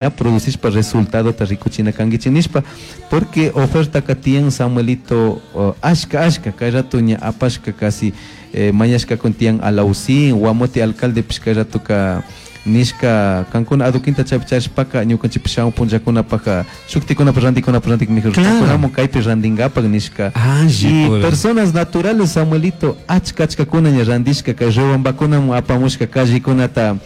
Producishpa resultadota rikuchina kankichik nishpa, porque ofertaka tiyan, Samuelito, ashka ashka kay rato ña apashka casi mañashkakuna tiyan Alausín, Guamote alcaldepish kay ratoka nishka kankuna adoquinta chaypi charishpaka ñukanchikpish shamun punllakunapaka shuktikunapa randikunapa randik mejor kankunamun kaypi randinkapak nishka. Y personas naturales, Samuelito, achka achkakuna ña randishka kay Riobambakunamun apamushka callekunata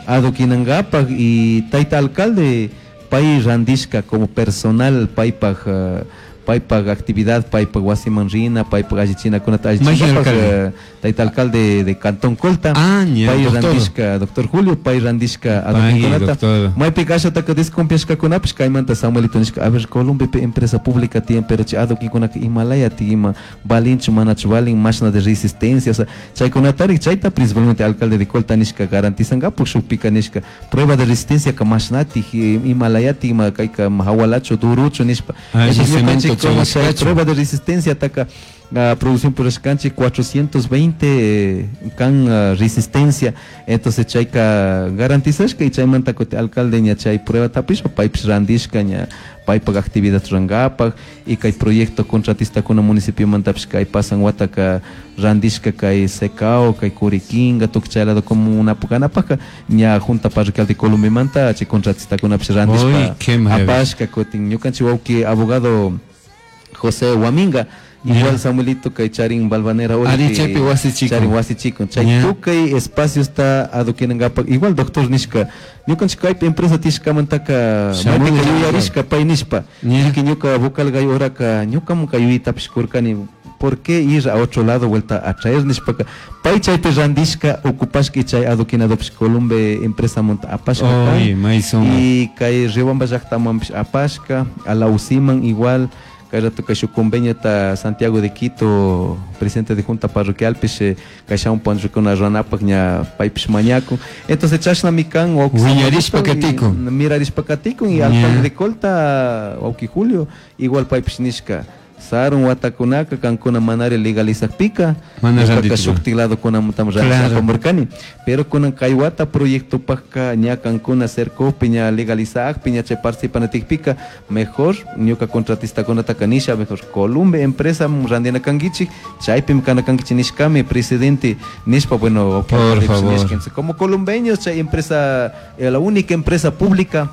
adoquinankapak y tayta alcalde pay randishka como personal paypak paypak actividad, paypak wasiman rina, paypak allichinakunata allichinkapak, tayta alcalde de Cantón Colta, pay randishka, doctor Julio, pay randishka adoquinkunata. Maypika ashataka desconfiashkakunapish kaymanta, Samuelito, nishka: a ver, Columbepi empresa pública tiyan, pero chay adoquinkunaka imalaya ima valinchu manachu valin, mashna de resistencia, o sea, chaykunatari chayta principalmente alcalde de Colta nishka garantizankapak shukpika nishka prueba de resistencia ka mashnatik imalayatik ima kayka hawalachu duruchu nishpa. Prueba de resistencia taka producción purashkanchik 420 kan resistencia. Entonces chayka garantizashka y chaymanta kuti alcalde ña chay prueba tapishpa paypish randishka ña paypak actividad rurankapak. Y kay proyecto contratistakuna municipiomantapish kay pasan wataka randishka kay Secao, kay Curiquinga, tukuy chay lado comunapak ña junta parroquial de Columbemanta chay contratistakunapish randishpa apashka. Kutin ñukanchik wawki abogado José Huaminga igual, Samuelito, kay charin Balvanera. Ari chaypi wasichikun. Charin wasichikun chay tukuy espaciosta adoquinankapak. Igual doctor nishka ñukanchik kaypi empresa tishkamantaka maypika yuyarishka pay nishpa que ñuka vocal gay horaka ñukamun kay yuyaytapish kurkani, ¿por qué ir a otro lado vuelta a traer? Nishpaka pay chaypi randishka ocupashka y chay adoquinadopish Columbe empresa monta apashka y kay Riobamba llaktamanpish apashka, Alausiman igual. Kay rato kay shuk conveniota Santiago de Quito presidente de junta parroquialpish kay shamun punllakuna runapak ña paypish mañakun. Entonces chashnami kan. Wiñarishpa katikun. Mirarishpa katikun. Y alcalde de Colta, wawki Julio, igual paypish nishka sarun watakunaka kankuna manari legalizakpika ñuqaka shuktik ladokunamantami randishapamurkani, pero kunan kay wata proyectopakka ña kankuna cercopi ña legalizakpi ña chay participanatikpika mejor ñuka contratistakunataka nisha mejor Columbe empresa randina kankichik, chaypimi kana kankichik nishkami presidente nishpa. Bueno, por favor, como columbeños chay empresa, la única empresa pública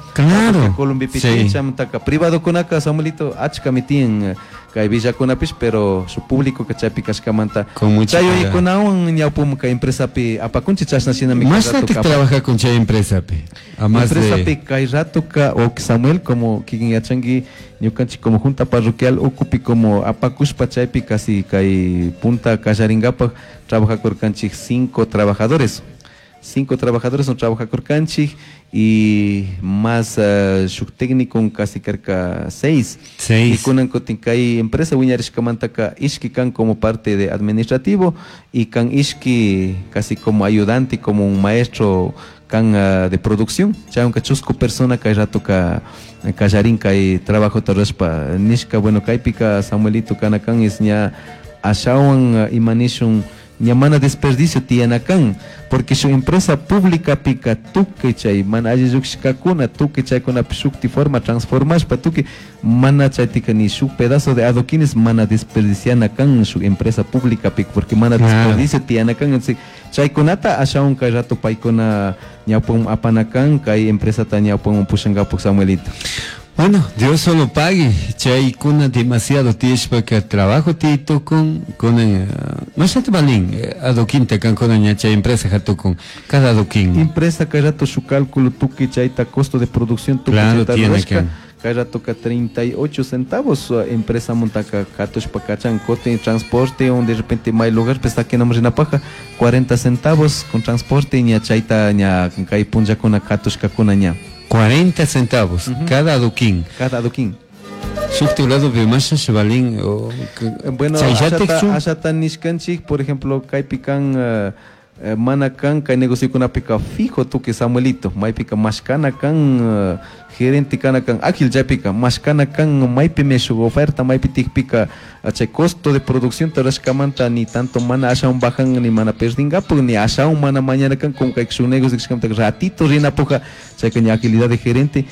Columbepi chaymantaka privadokunaka, Samuelito, achkami tiyan kay villakunapish, pero su público que chaypi kashkamanta chay yuyaykunawan ñawpuma kay empresapi apakunchik chashna shinami. Mashnatik trabaja con chay empresapi? Empresapi kay ratoka o Samuel, como kikin yachanki, ñukanchik como junta parroquial ukupi como apakushpa chaypi casi kay punta kallarinkapak trabajakurkanchik cinco trabajadores, cinco trabajadores son trabajakurkanchik y más shuk técnico casi cerca seis. Seis. Y kunan kutin kay empresa wiñarishkamantaka ishki kan como parte de administrativo y kan ishki casi como ayudante, como un maestro kan de producción. Chaywanka chusku persona kay rato ka kallarin kay trabajo rurashpa nishka. Bueno, kaypika, Samuelito, kana kan es ña ashawan ima nishun ña mana desperdicio tiyana kan, porque su empresa pública pika tukuy chay mana alli llukshikakuna tukuy chaykunapi shukti forma transformashpa tukuy mana chaytika ni shuk pedazo de adoquines mana desperdiciana kan shuk empresa pública pika, porque mana desperdicio tiyana kan. Entonces chaykunata ashawan kay rato paykuna ñawpaman apana kan kay empresata ñawpaman pushankapak, Samuelito. Bueno, Dios solo pague. Chaykuna demasiado tiyashpaka trabajo titukun kunan mashata valin adoquinta kankuna ña chay empresa hatukun cada adoquín. Empresa kay rato su cálculo tukuy chayta costo de producción tukuy chayta rurashka kay ratoka 38 centavos empresa montaka katushpa kachan. Kutin transporte un de repente may lugar pues saquenamos rinapaka 40 centavos con transporte ña chayta ña kay punllakuna katushkakuna ña. 40 centavos cada adoquín. Cada adoquín. Shukti lado masha valin o Bueno, ashata nishkanchik, por ejemplo, kaypi kan Mana kan kay negociokunapika fijo tukuy Samuelito, maypika mashkana kan gerente kana kan ágil chaypika mashkana kan maypimi shuk oferta maypi tikpika chay costo de producción rashkamanta ni tanto mana ashawan bajan ni mana perdingapak ni ashawan mana mañana kan como kay shuk negocio ratito rinapuja chayka ña agilidad de gerente.